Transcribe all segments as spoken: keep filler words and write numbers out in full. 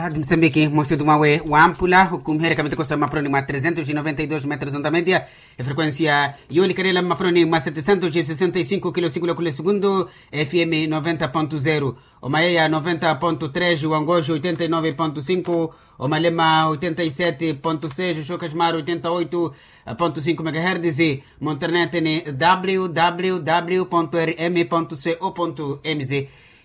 Msambiki mwa situtu mwawe wampula okumiheryaka miteko sa mmapuroni mwa trezentos e noventa e dos metros ontamedia. Efrekuensia yoolikalela mmapuroni mwa setecentos e sesenta e cinco kilo sikula kule segundu. Fm noventa ponto zero, omayeya noventa ponto tres, wangoxo oitenta e nove ponto cinco, omalema oitenta e sete ponto seis, oxokaximaro oitenta e oito ponto cinco megaherdes. Mu internet ni www rm co mz.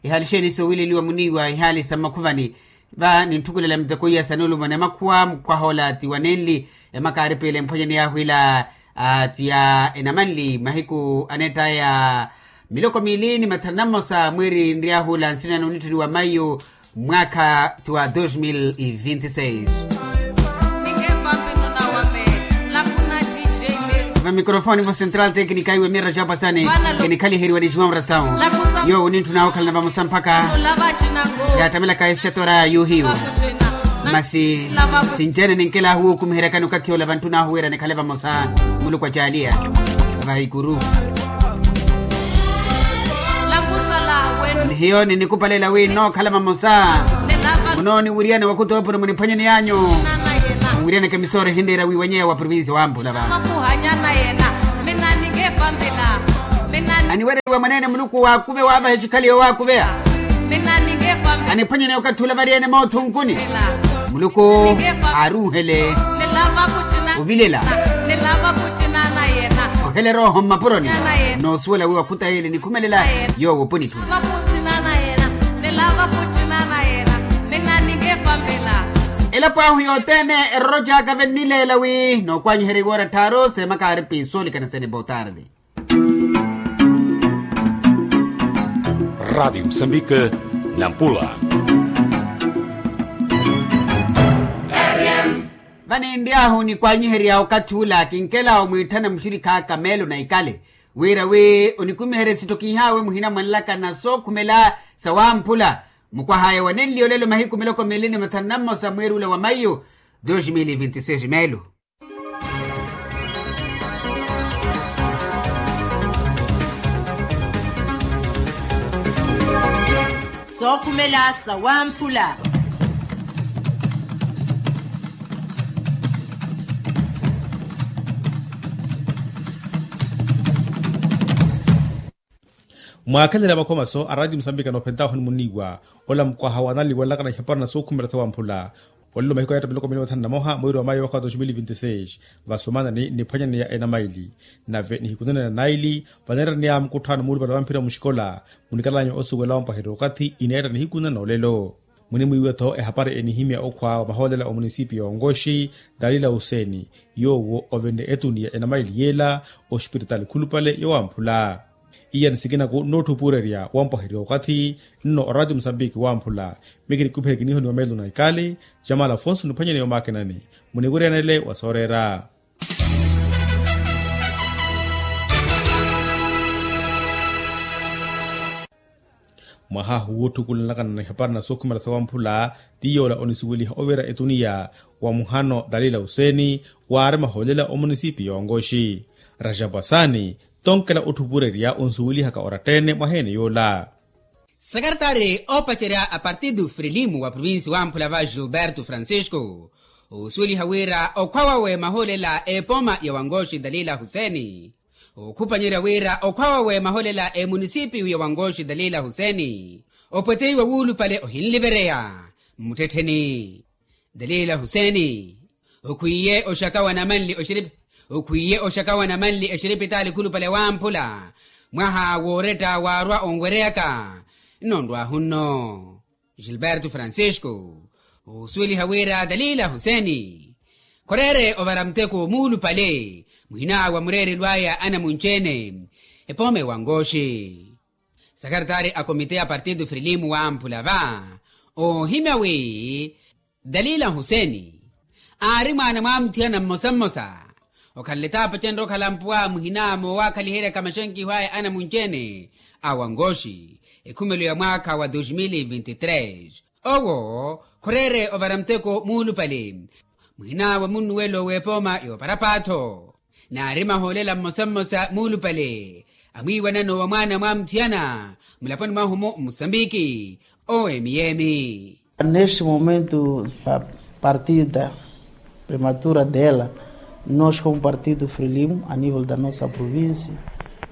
Ihali xeeni soowileliwa muniiwa ihali sa mmakhuvani. Va nintthukhulela miteko iya sa nuulumana emakhuwa mukwaha ola ti wanenli. Emaka aari piila emphwanyani yaahu ila ti ya enamanli mahiku aneettaya miloko miili ni mathanu na mmosa mwiiri nryahu ola nsina nunitthuni wa mayu. Mwaakha ti wa dos mil e vinti seis. Vamikrofoni vo central teknika iwe mira xapasani. Kinikhaliheriwa ni juan rasawu. Yoowo nintthuna okhalana vamosa mpakha yaattamelaka esetora yuuhiyu. Masi sinci-ene ninkelahu wuukumiheryakani okathi ola vantthun'ahu wira nikhale vamosa. Muluku acaaliya vahikuru. Ni hiyo ninikupalela wi nnookhala vamosa. Munooniwiryana wakhutoopono muniphwanyeni yanyu. Muwiryaneke misooro ehinleera wiiwanyeya wa provincia wampula va. Aniwereriwa mwaneene muluku waakuve waavaha exikhali yowaakuveya. Aniphwanyeni okathi ula variyene mootho nkuni. Muluku aaruuhele ovilela. Ohelera oho mmapuroni. Noosuwela wi wakhutayi ele nikhumelela yoowo oponi. Elapo ahu yothene eroro caaka vennileela wi nookwanyiherya iwoora tthaaru seemaka aari piisoolikana sene botarde. Radiyo musambika nampula. Vaninry'ahu nikwanyiherya okathi ula kinkela omwiitthana muxirikhi aka meelo na ikale wira wi onikumiherye sitto kiihaawe muhina mwanlaka na sookhumela sawamphula. Mukwah'aya wanenliya olelo mahiku miloko miili ni mathanu na mmosa mwiiri ula wa mayu dos mil e vinti seis meelo. Sookhumela sawamphula. Mwaakhelele makhomaso a radiyo musambika noophentaahu onimuniiwa ola mukwaha wanaliwanlakana ihapara na sookhumela sawamphula. Olelo mahiku ayatta miloko miili mathanu na moha mwiiri wa mayo waka wa dos mil vinti seis. Vasomana ni niphwanyani ya enamaili nave nihikunene na naili vaneeraniya mukutthaano muulupale wa mphira muxikola. Munikalanya osuwela wampwaherya okathi ineetta nihikunene na olelo. Munimwiiwe-tho ehapari enihimya okhwa wa mahoolela omunisipi ya onkoxi dalila huseni yoowo ovenle etuni ya enamaili yeela ospiritaali khulupale yowamphula. Iya ni sikinaku nnootthupurerya wampwaherya okathi nno orati musambiki wamphula. Mikinikuphele kiniihoniwa meelo na ikali jamala afonso niphwanyeni yomaakinani muniwiryanele wa sooreera. Mwaha ahu wuutthukulanakana na ihapari na sookhumela sawamphula ti yoola onisuweliha ovira etuniya wa muhano dalila huseni waari mahoolela omunisipi yoonkoxi. Rajapwasani tonkela otthupurerya onsuwelihaka orattene mwaha ene yoola. Sakaratari oopacerya a partidu frilimu wa provinsi wamphula va gilberto francisco osuweliha wira okhwa wawe mahoolela epooma ya wankoxi dalila huseni. Okhupanyerya wira okhwa wawe mahoolela emunisipiyu ya wankoxi dalila huseni opweteiwa wuulupale ohinlivereya mmuttettheni. Dalila huseni okhwiiye oxaka wa namanli oxiripi okhwiiye oxaka wa namanli exiripitaali khulupale wamphula mwaha wooretta waarwa onwereyaka. Nno nrwahu nno gilberto francisco osuweliha wira dalila huseni khoreere ovara muteko muulupale muhina wa mureerelo aya anamunci-ene epooma ewankoxi. Sakaratari a komite ya partidu frilimu wamphula va oohimya wi dalila huseni aari mwaana mwa muthiyana mmosa mmosa okhanle taapacenrya okhala mpuwa muhina moowakhaliheryaka maxenkiho aya anamunci-ene a wankoxi ekhumelo ya mwaakha wa dos mil e vinti tres. Owo khoreere ovara muteko muulupale muhina wa munnuwelo w'epooma yooparapatho naari mahoolela mmosa mmosa muulupale amwiiwanano wa mwaana mwa muthiyana mulaponi mwahu-mu mmusambiki owo emiyemi. Neste momento a partida prematura dela, nós como partido frelimo a nível da nossa província,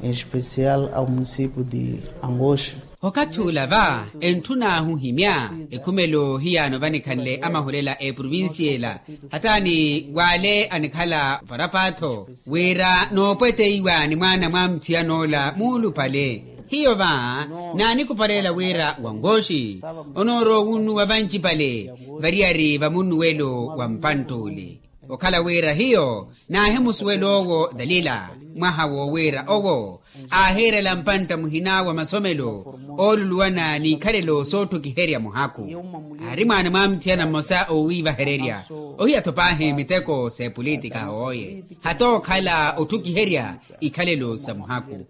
em especial ao município de Angoche. Okathi ula va entthun'ahu ohimya ekhumelo hiyaano vanikhanle amahulela a eprovincia ela. Hataani w'ale anikhala oparapaatho wira noopweteiwa ni mwaana mwa muthiyan'ola muulupale. Hiyo va naanikupalela wira wangoxi onoorowa wunnuwa vancipale variyari va munnuwelo wa mpantt'ule. Okhala wira hiyo naahimusuwela owo dalila mwaha wowiira owo aahiirela mpantta muhina wa masomelo ooluluwana n'ikhalelo sootthukiherya muhaku. Aari mwaana mwa muthiyana mmosa oowiivahererya ohiya-tho paahi miteko s'epolitika hooye hata okhala otthukiherya ikhalelo sa muhaku.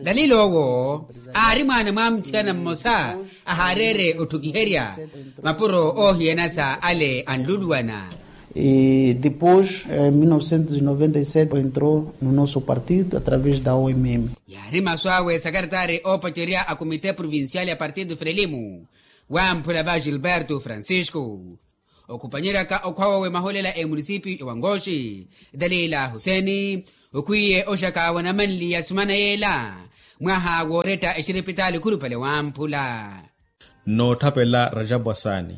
Dalila owo aari mwaana mwa muthiyana mmosa ahaareere otthukiherya mapuro oohiyana sa ale anluluwana. E depois em mil novecentos e noventa e sete entrou no nosso partido através da omm. Yaari masu awe sakaritari oopacerya a komite provincial ya partido frelimo wamphula va gilberto francisco okhupanyeryaka okhwa wawe maholela a emunisipio ya wangoxi. Dalila huseni okhwiye oxaka wa namanli ya sumana yeela mwaha wooretta exiripitaali khulupale wamphula. Nootthapela rajabu asaani.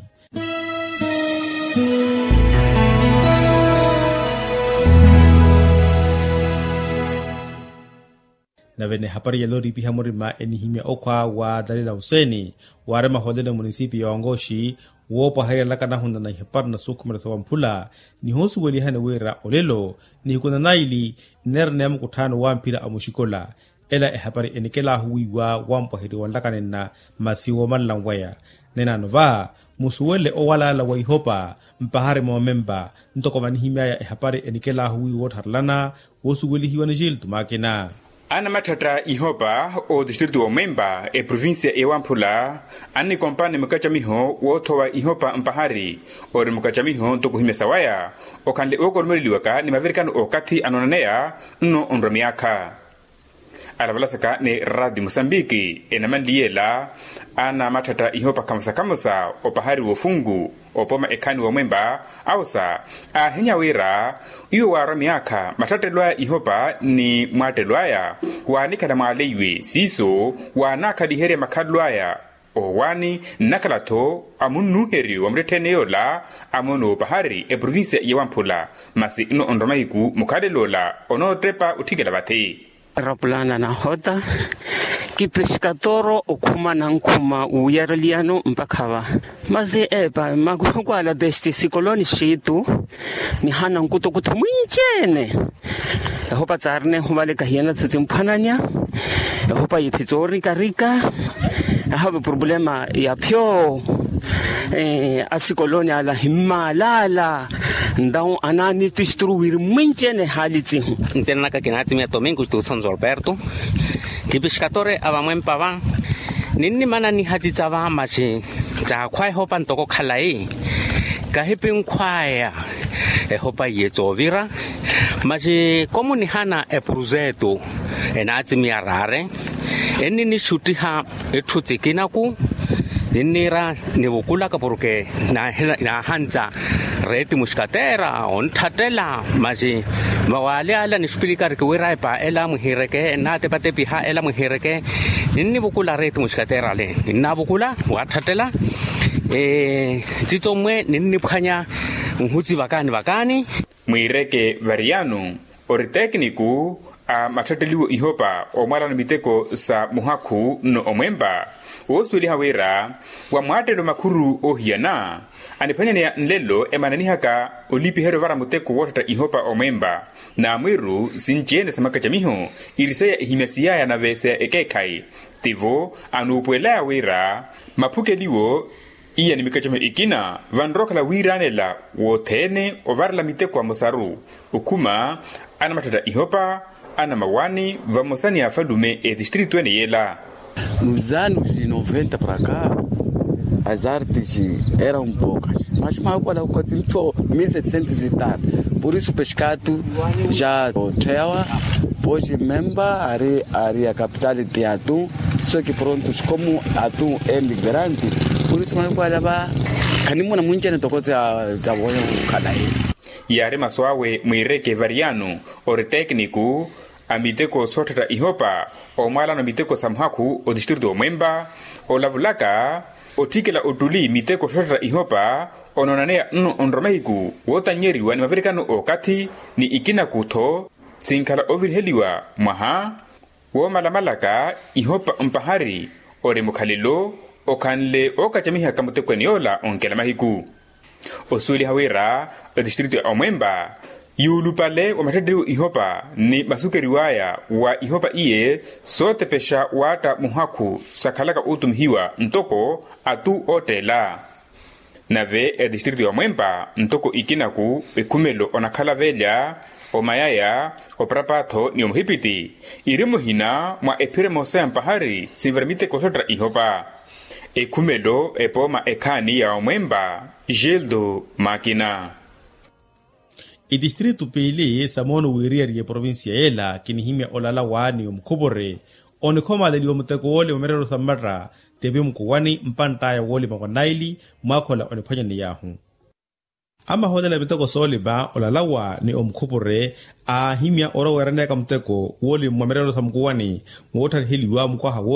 Nave n'ehapari yalooripiha murima enihimya okhwa wa dalila huseni waari mahoolelo a munisipi ya wangoxi woopwaherya alaka anahunana ihapari na sukhumela sowamphula nihoosuwelihani wira olelo nihiku na naili nneera neya mukutthaano wa mphira a muxikola. Ela ehapari enikelahu wiiwa wampwaheriwa nlaka nenna masi woomanla nweya. Nenaano va musuwele owalala wa ihopa mpahari moomempa ntoko vanihimyaya ehapari enikelahu wiiwa woottharelana woosuwelihiwa ni gilto makina. Anamatthetta ihopa otistritu womempa eprovincia ewamphula annikompani mukacamiho woothowa ihopa mpahari ori mukacamiho ntoko ohimya sawaya okhanle ookoromeleliwaka ni mavirikano okathi anoonaneya nno onrwa myaakha. Alavalasaka ni raati musambiki enamanliyela anamatthetta ihopa khamosa khamosa opahari wofunku opoma ekhaani womwempa awosa aahinya wira iwo waarwa myaakha matthettelo aya ihopa ni mwattelelo aya waanikhala mwaaleiwe siiso waanakhaliherya makhalelo aya. Owaani nnakhala-tho amunnuuheryo wa muttettheene yoola amoona opahari eprovincia ya wamphula masi nno onrwa mahiku mukhalelo ola onoottepa otthikela vathi. Rapulana nahota kipeskatoro okhuma nankhuma wuyareliyano mpakha va masi epa makukwala desti sikoloni xitu nihana nkutukuthu mwinci-ene. Ehopa tsaarina ehuvaleka hiyana tsitsimphwananya ehopa yiphi tsoorikarika. Ahave problema ya phyo asikoloni ala himmaalala. Ntawu anaani tisturu wiri mwinci-ene ehaali tsihu. Ntsina naka kinatsimiya tomingo tuusa nzorberto kipixkatore a vamwempa va ninnimana nihatitsa va maxi tsaakhwa ehopa ntoko khalayi kahipinkhwaya ehopa iye tsoovira maxi komunihana epurusetu enaatsimiya raare enninixuttiha etthu tsikinaku ninniira nivukulaka porke naahantsa reeti muxikateera ontthattela maxi vawaali ala nixupilika arikiwira epa ela mwihiireke nnaatepatepiha ela mwihiireke ninnivukula reeti muxikateera ale ninnaavukula waatthattela tsitsommwe ninniphwanya nhuti vakaani vakaani. Mwiireke variyano ori tekiniku a matthetteliwo ihopa omwalano miteko sa muhakhu nno omwempa woosuweliha wira wa mwattelelo makhuru oohiyana aniphwanyaneya nlelo emananihaka olipiherya ovara muteko wootthatta ihopa omwempa. Naamwiru sinci-ene sa makacamiho iriseya ehimyasiyaya nave sa ekeekhayi tivo anuupuwelaya wira maphukeliwo iya ni mikacamiho ikina vanrowa okhala wiiranela wothene ovarela miteko amosaru okhuma anamatthetta ihopa anamawaani vamosa ni afalume etistritu ene yela. Nos anos de noventa para cá as artes eram poucas mas makukwala kukatsi ntho mil setecentos e tal. Por isso peskatu ja otthe awa posi memba ari ari a capital de atu. Só que prontos como atu é migrante por isso makukwala va Khanimuna munjani toko tsa tsa voya khukhala eni. Yaari masu awe mwiireke variyano ori tekniku a miteko sootthatta ihopa omwalano miteko sa muhakhu otistritu omwempa olavulaka otthikela ottuli miteko sootthatta ihopa onoonaneya nno onromahiku wootannyeriwa ni mavirikano okathi ni ikinaku-tho sinkhala oviriheliwa mwaha woomalamalaka ihopa mpahari ori mukhalelo okhanle ookacamihaka mutekweni yoola onkela mahiku. Osuweliha wira etistritu ya omwempa yuulupale wa mattetteriwo ihopa ni masukeriw'aya wa ihopa iye sootepexa waatta muhakhu sakhalaka ootumihiwa ntoko atu ootteela. Nave etistritu ya omwempa ntoko ikinaku ekhumelo onakhala velya omayaya oparapatho ni omuhipiti iri muhina mwa ephira emosa ya mpahari sinvara miteko soottera ihopa. Ekhumelo epooma ekhaani ya omwempa gildo makina. Itistritu piili sa moono wiiriyariye provincia yela kinihimya olalawa ni omukhupuri onikhomaleliwa muteko woolima mmerelo sa mmatta tepi mukuwani mpantt'aya woolima wa naili mwaakhola oniphwanyaniy'ahu. Amahoolele miteko soolima olalawa ni omukhupuri aahimya orowa weeraneyaka muteko woolima mwa mmerelo sa mukuwani moottariheliwa mukwaha woolima.